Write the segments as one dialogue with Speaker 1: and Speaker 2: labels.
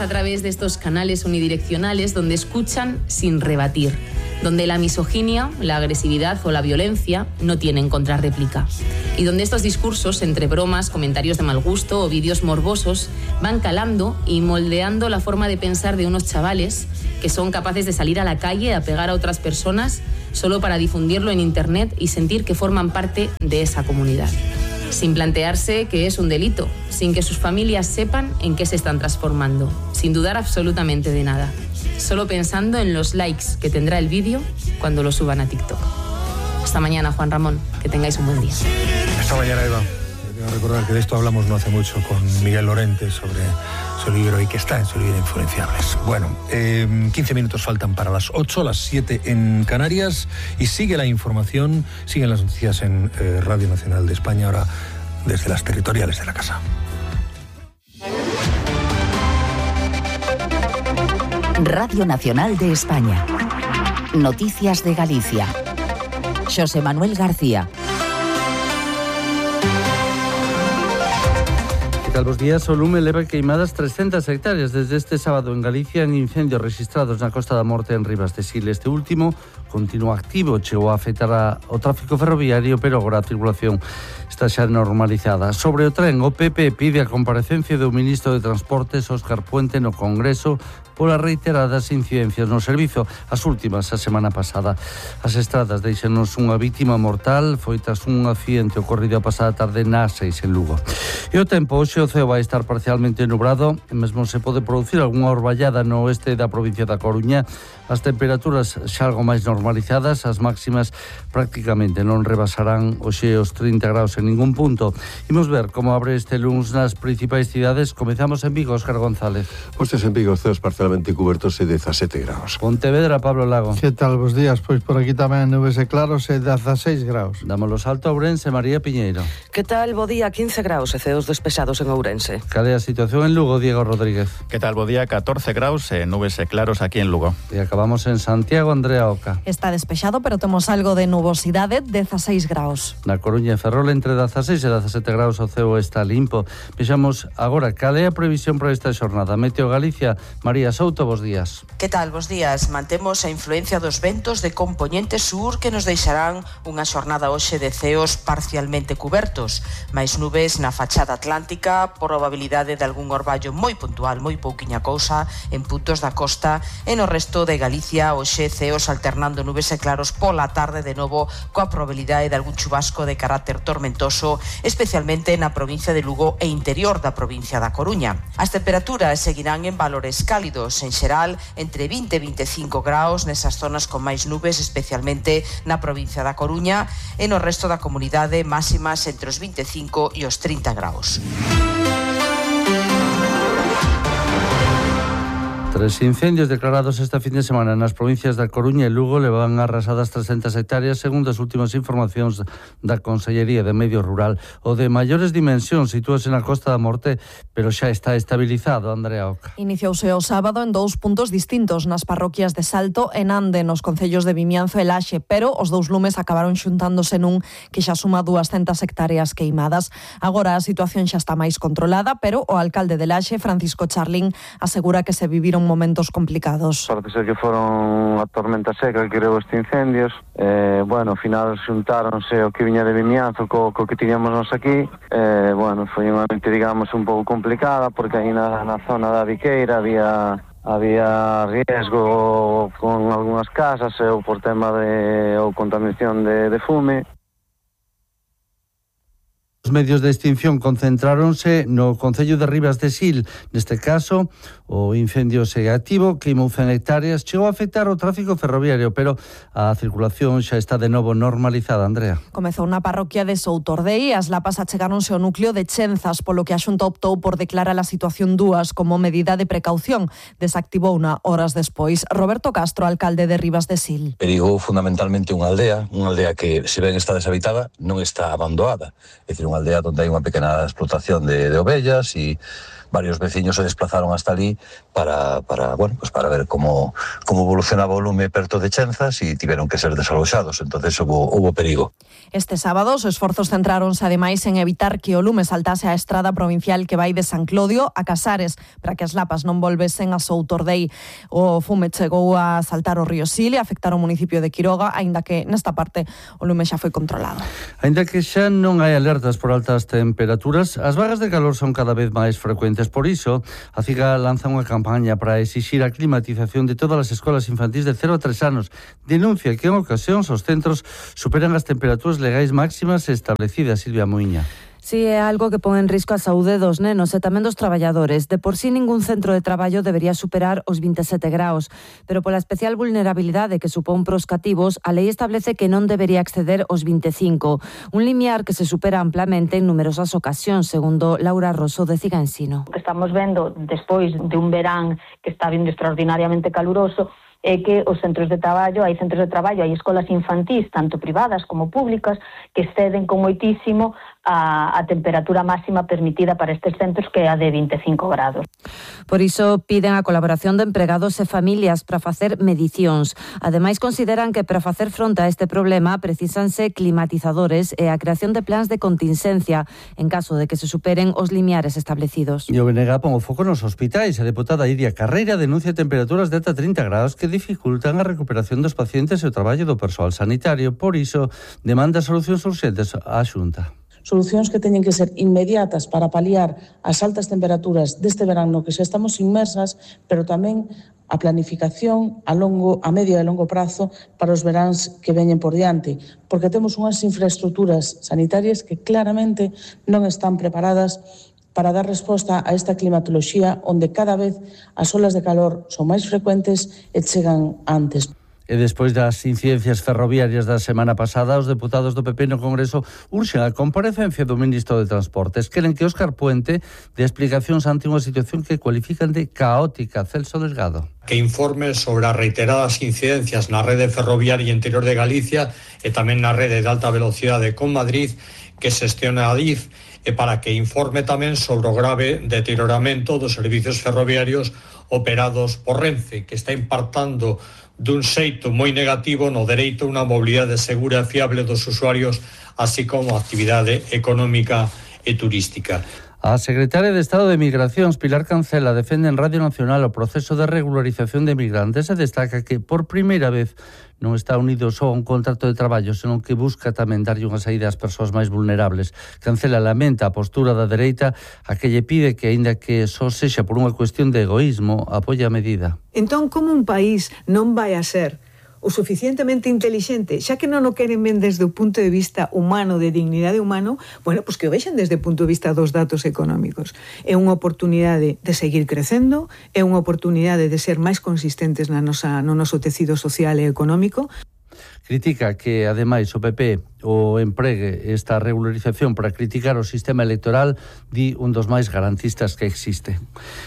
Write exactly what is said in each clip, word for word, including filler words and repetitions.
Speaker 1: a través de estos canales unidireccionales donde escuchan sin rebatir, donde la misoginia, la agresividad o la violencia no tienen contrarréplica, y donde estos discursos, entre bromas, comentarios de mal gusto o vídeos morbosos, van calando y moldeando la forma de pensar de unos chavales que son capaces de salir a la calle a pegar a otras personas solo para difundirlo en internet y sentir que forman parte de esa comunidad, sin plantearse que es un delito, sin que sus familias sepan en qué se están transformando, sin dudar absolutamente de nada, solo pensando en los likes que tendrá el vídeo cuando lo suban a TikTok. Hasta mañana, Juan Ramón, que tengáis un buen día.
Speaker 2: Hasta mañana, Eva. Quiero recordar que de esto hablamos no hace mucho con Miguel Lorente sobre su libro y que está en su libro Influenciables. Bueno, eh, quince minutos faltan para las ocho, las siete en Canarias, y sigue la información, siguen las noticias en eh, Radio Nacional de España, ahora desde las territoriales de la casa.
Speaker 3: Radio Nacional de España. Noticias de Galicia. Xosé Manuel García.
Speaker 4: Que tal, bos días. O lume leva queimadas trescentas hectáreas desde este sábado en Galicia en incendios registrados na Costa da Morte en Ribas de Sil. Este último continúa activo, chegou a afectar a, o tráfico ferroviario, pero agora a circulación está xa normalizada. Sobre o tren, o P P pide a comparecencia do ministro de Transportes, Óscar Puente, no Congreso polas reiteradas incidencias no servizo, as últimas a semana pasada. As estradas deixanos unha vítima mortal, foi tras un accidente ocorrido a pasada tarde na A seis en Lugo. E o tempo, hoxe o ceo vai estar parcialmente nubrado, e mesmo se pode producir algunha orballada no oeste da provincia da Coruña. As temperaturas xa algo máis normalizadas, as máximas prácticamente non rebasarán hoxe os trinta graus en ningún punto. Imos ver como abre este luns nas principais cidades. Comezamos en Vigo, Óscar González.
Speaker 5: Postes en Vigo, ceos parcialmente cubertos e dezasete graus.
Speaker 4: Pontevedra, Pablo Lago.
Speaker 6: Que tal, bos días? Pois por aquí tamén nubes e claros e dezaseis graus.
Speaker 4: Dámolo salto a Ourense, María Piñeiro.
Speaker 7: Que tal, bo día? quince graus e ceos despesados en Ourense.
Speaker 4: Cal é a situación en Lugo, Diego Rodríguez?
Speaker 8: Que tal, bo día? catorce graus e nubes e claros aquí en Lugo.
Speaker 4: E acabamos en Santiago, Andrea Oca.
Speaker 9: Está despexado, pero temos algo de nubosidade, dezaseis graus.
Speaker 4: Na Coruña e Ferrol entre dezaseis e dezasete graus o ceo está limpo. Vexamos agora cal é a previsión para esta xornada. Meteo Galicia, María Souto, bos días.
Speaker 10: Que tal, bos días? Mantemos a influencia dos ventos de compoñente sur que nos deixarán unha xornada hoxe de ceos parcialmente cubertos, máis nubes na fachada atlántica, probabilidade de algún orballo moi puntual, moi pouquiña cousa en puntos da costa, e no resto de Galicia hoxe ceos alternando nubes e claros pola tarde de novo coa probabilidade de algún chubasco de carácter tormentoso, especialmente na provincia de Lugo e interior da provincia da Coruña. As temperaturas seguirán en valores cálidos, en xeral entre vinte e veinticinco graus nesas zonas con máis nubes, especialmente na provincia da Coruña, e no resto da comunidade máximas entre os vinte e cinco e os trinta graus.
Speaker 4: Tres incendios declarados esta fin de semana nas provincias da Coruña e Lugo levan arrasadas trescentas hectáreas, segundo as últimas informacións da Consellería de Medio Rural. O de maiores dimensións sitúase na Costa da Morte, pero xa está estabilizado, Andrea Oca.
Speaker 9: Iniciouse o sábado en dous puntos distintos, nas parroquias de Salto e Nande, nos concellos de Vimianzo e Laxe, pero os dous lumes acabaron xuntándose nun que xa suma duascentas hectáreas queimadas. Agora a situación xa está máis controlada, pero o alcalde de Laxe, Francisco Charlín, asegura que se viviron momentos complicados.
Speaker 11: Parece ser que foron a tormenta seca que creou estes incendios. Eh, bueno, ao final xuntáronse o que viña de Vimianzo co, co que tiñamos nos aquí. Eh, bueno, foi unha noite, digamos, un pouco complicada porque aí na, na zona da Viqueira había había riesgo con algunhas casas ou por tema de ou contaminación de, de fume.
Speaker 4: Os medios de extinción concentráronse no concello de Ribas de Sil. Neste caso, o incendio segue activo, queimou cen hectáreas, chegou a afectar o tráfico ferroviario, pero a circulación xa está de novo normalizada, Andrea.
Speaker 9: Comezou na parroquia de Soutordei, as lapas achegáronse ao núcleo de Chenzas, polo que a Xunta optou por declarar a situación dúas como medida de precaución. Desactivouna horas despois. Roberto Castro, alcalde de Ribas de Sil.
Speaker 12: Perigou fundamentalmente unha aldea, unha aldea que, se ben está deshabitada, non está abandonada. É dicir, unha aldea onde hai unha pequena explotación de, de ovellas e varios veciños se desplazaron hasta ali para, para, bueno, pues para ver como, como evolucionaba o lume perto de Chenzas e tiveron que ser desaloxados, entonces hubo, hubo perigo.
Speaker 9: Este sábado os esforzos centráronse ademais en evitar que o lume saltase a estrada provincial que vai de San Clodio a Casares para que as lapas non volvesen a Soutordei. O fume chegou a saltar o río Sil e afectar o municipio de Quiroga, aínda que nesta parte o lume xa foi controlado.
Speaker 4: Aínda que xa non hai alertas por altas temperaturas, as vagas de calor son cada vez máis frecuentes. Por iso, a CIGA lanza unha campaña para exixir a climatización de todas as escolas infantís de cero a tres anos. Denuncia que en ocasións os centros superan as temperaturas legais máximas establecidas. Silvia Muiña.
Speaker 13: Si é algo que pon en risco a saúde dos nenos e tamén dos traballadores. De por sí ningún centro de traballo debería superar os vinte e sete graus, pero pola especial vulnerabilidade que supón pros cativos, a lei establece que non debería exceder os vinte e cinco, un limiar que se supera amplamente en numerosas ocasións, segundo Laura Rosso de CIGA Ensino.
Speaker 14: O que estamos vendo despois de un verán que está vindo extraordinariamente caluroso é que os centros de traballo, hai centros de traballo, hai escolas infantís, tanto privadas como públicas, que exceden con moitísimo a, a temperatura máxima permitida para estes centros, que é a de vinte e cinco grados.
Speaker 13: Por iso piden a colaboración de empregados e familias para facer medicións. Ademais, consideran que para facer fronte a este problema precisanse climatizadores e a creación de plans de contingencia en caso de que se superen os limiares establecidos.
Speaker 4: E o B N G pon o foco nos hospitais. A deputada Iria Carreira denuncia temperaturas de ata trinta graus que dificultan a recuperación dos pacientes e o traballo do persoal sanitario. Por iso, demanda solucións urxentes á Xunta.
Speaker 15: Solucións que teñen que ser inmediatas para paliar as altas temperaturas deste verán no que xa estamos inmersas, pero tamén a planificación a longo, a medio e longo prazo para os veráns que veñen por diante, porque temos unhas infraestructuras sanitarias que claramente non están preparadas para dar resposta a esta climatoloxía onde cada vez as olas de calor son máis frecuentes e chegan antes.
Speaker 4: E despois das incidencias ferroviarias da semana pasada, os deputados do P P no Congreso urxen a comparecencia do ministro de Transportes. Queren que Óscar Puente dé explicacións ante unha situación que cualifican de caótica. Celso Delgado.
Speaker 16: Que informe sobre as reiteradas incidencias na rede ferroviaria interior de Galicia e tamén na rede de alta velocidade con Madrid que xestiona a D I F, e para que informe tamén sobre o grave deterioramento dos servicios ferroviarios operados por Renfe, que está impactando dun xeito moi negativo no dereito a unha mobilidade segura e fiable dos usuarios, así como a actividade económica e turística.
Speaker 4: A secretaria de Estado de Migracións, Pilar Cancela, defende en Radio Nacional o proceso de regularización de migrantes e destaca que, por primeira vez, non está unido só a un contrato de traballo, senón que busca tamén darlle unha saída ás persoas máis vulnerables. Cancela lamenta a postura da dereita a que lle pide que, aínda que só sexa por unha cuestión de egoísmo, apoia a medida.
Speaker 17: Entón, como un país non vai a ser o suficientemente inteligente, xa que non o queren ben desde o punto de vista humano, de dignidade humano, bueno, pois que o vexan desde o punto de vista dos datos económicos. É unha oportunidade de seguir crecendo, é unha oportunidade de ser máis consistentes na nosa, no noso tecido social e económico.
Speaker 4: Critica que, ademais, o P P o empregue esta regularización para criticar o sistema electoral, di un dos máis garantistas que existe.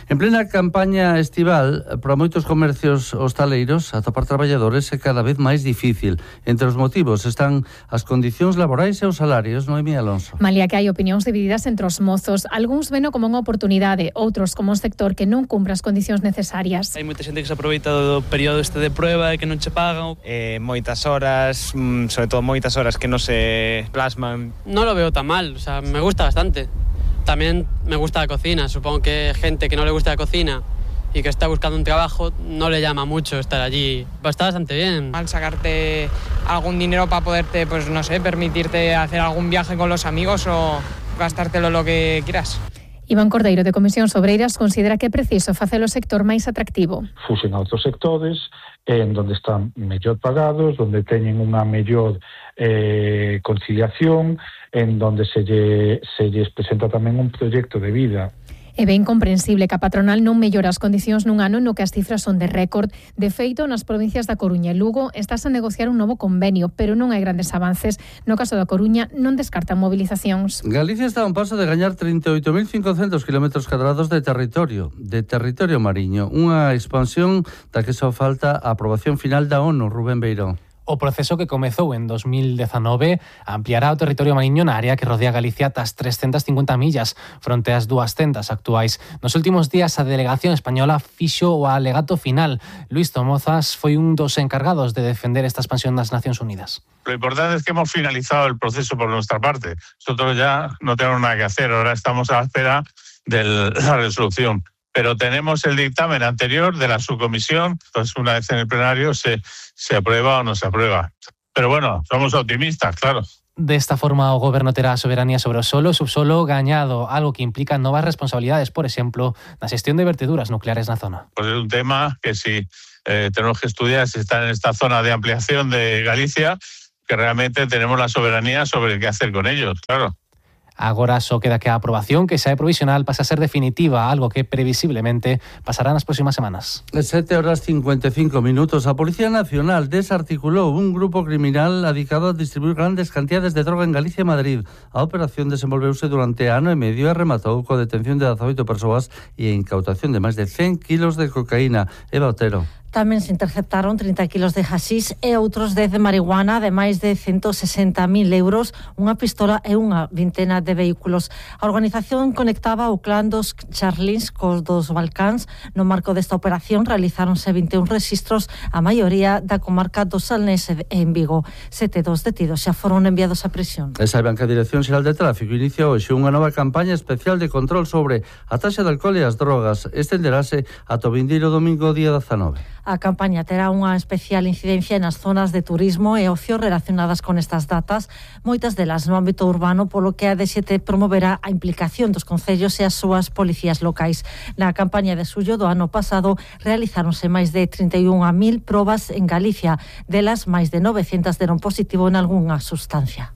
Speaker 4: En plena campaña estival, para moitos comercios hostaleiros, atopar traballadores é cada vez máis difícil. Entre os motivos están as condicións laborais e os salarios. Noemí Alonso.
Speaker 18: Malia que hai opinións divididas entre os mozos, algúns veno como unha oportunidade, outros como un sector que non cumpre as condicións necesarias.
Speaker 19: Hai moita xente que se aproveita do período este de prueba e que non che pagan. Eh, moitas horas, sobre todo moitas horas que non se plasman.
Speaker 20: No lo veo tan mal, o sea, me gusta bastante. También me gusta la cocina, supongo que gente que no le gusta la cocina y que está buscando un trabajo, no le llama mucho estar allí. Pues está bastante bien.
Speaker 21: Al sacarte algún dinero para poderte, pues no sé, permitirte hacer algún viaje con los amigos o gastártelo lo que quieras.
Speaker 18: Iván Cordeiro, de Comisións Obreiras, considera que é preciso facer o sector máis atractivo.
Speaker 22: Fusen a outros sectores en donde están mellor pagados, donde teñen unha mellor eh, conciliación, en donde se, lle, se lles presenta tamén un proxecto de vida.
Speaker 18: É ben comprensible que a patronal non mellora as condicións nun ano no que as cifras son de récord. De feito, nas provincias da Coruña e Lugo estás a negociar un novo convenio, pero non hai grandes avances. No caso da Coruña non descartan movilizacións.
Speaker 4: Galicia está a un paso de gañar trinta e oito mil cincocentos kilómetros cadrados de territorio, de territorio mariño. Unha expansión da que só falta a aprobación final da ONU, Rubén Beirón.
Speaker 1: O proceso que comezou en dos mil dezanove ampliará o territorio mariño na área que rodea Galicia ata as trescentas cincuenta millas, fronte ás duascentas actuais. Nos últimos días a delegación española fixo o alegato final. Luis Tomozas foi un dos encargados de defender esta expansión das Nacións Unidas.
Speaker 2: Lo importante es que hemos finalizado el proceso por nuestra parte. Nosotros ya no tenemos nada que hacer, ahora estamos a la espera de la resolución. Pero tenemos el dictamen anterior de la subcomisión, entonces una vez en el plenario se, se aprueba o no se aprueba. Pero bueno, somos optimistas, claro.
Speaker 1: Desta forma, o Goberno terá a soberanía sobre o solo e subsolo gañado, algo que implica novas responsabilidades, por exemplo, na xestión de verteduras nucleares na zona.
Speaker 2: Pues es un tema que si eh, tenemos que estudiar si está en esta zona de ampliación de Galicia, que realmente tenemos la soberanía sobre qué hacer con ellos, claro.
Speaker 1: Agora só queda que a aprobación, que xa é provisional, pasa a ser definitiva, algo que previsiblemente pasará nas próximas semanas.
Speaker 4: sete horas cincuenta e cinco minutos. A Policía Nacional desarticulou un grupo criminal dedicado a distribuir grandes cantidades de droga en Galicia e Madrid. A operación desenvolveuse durante ano e medio e rematou coa detención de dezaoito persoas e a incautación de máis de cen kilos de cocaína. Eva Otero.
Speaker 23: Tamén se interceptaron trinta kilos de hasís e outros dez de marihuana de máis de ciento sesenta mil euros, unha pistola e unha vintena de vehículos. A organización conectaba o clan dos Charlins cos dos Balcáns. No marco desta operación realizáronse vinte e un registros, a maioría da comarca do Salnés e en Vigo. Sete dos detidos xa foron enviados a prisión.
Speaker 4: E saiban que a Dirección Xeral de Tráfico inicia hoxe unha nova campaña especial de control sobre a taxa de alcohol e as drogas. Estenderase ata o vindeiro domingo día dezanove.
Speaker 23: A campaña terá unha especial incidencia nas zonas de turismo e ocio relacionadas con estas datas, moitas delas no ámbito urbano, polo que a D sete promoverá a implicación dos concellos e as súas policías locais. Na campaña de xullo do ano pasado realizáronse máis de trinta e unha mil probas en Galicia, delas máis de novecentas deron positivo en algunha sustancia.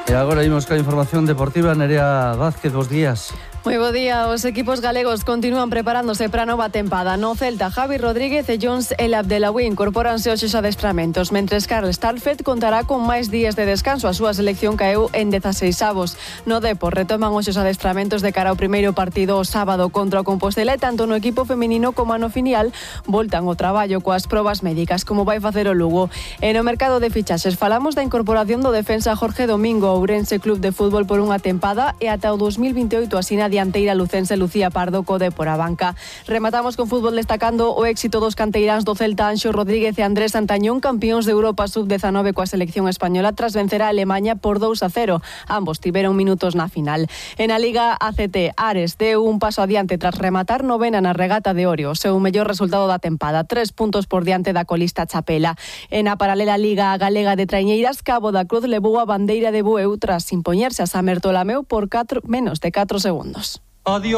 Speaker 4: E agora imos ca información deportiva. Nerea Vázquez, bos días.
Speaker 24: Moi bo día, os equipos galegos continúan preparándose para a nova tempada. No Celta, Javi Rodríguez e Jones El Abdelawi incorporanse aos adestramentos, mentres Karl Starfelt contará con máis días de descanso. A súa selección caeu en dezaseis avos. No Depor retoman os adestramentos de cara ao primeiro partido o sábado contra o Compostela e tanto no equipo feminino como no filial voltan ao traballo coas probas médicas, como vai facer o Lugo. E no mercado de fichaxes falamos da incorporación do defensa Jorge Domingo ao Ourense Club de Fútbol por unha tempada e ata o dos mil vinteoito asina dianteira lucense Lucía Pardo co Depor a banca. Rematamos con fútbol destacando o éxito dos canteiráns do Celta Anxo Rodríguez e Andrés Santañón, campións de Europa sub dezanove coa selección española tras vencer a Alemanha por dous a cero. Ambos tiveron minutos na final. En a Liga A C T, Ares deu un paso adiante tras rematar novena na regata de Orio, o seu mellor resultado da tempada, tres puntos por diante da colista Chapela. En a paralela Liga Galega de Traiñeiras, Cabo da Cruz levou a bandeira de Bueu tras impoñerse a Samer Tolameu por catro, menos de catro segundos.
Speaker 25: Adiós.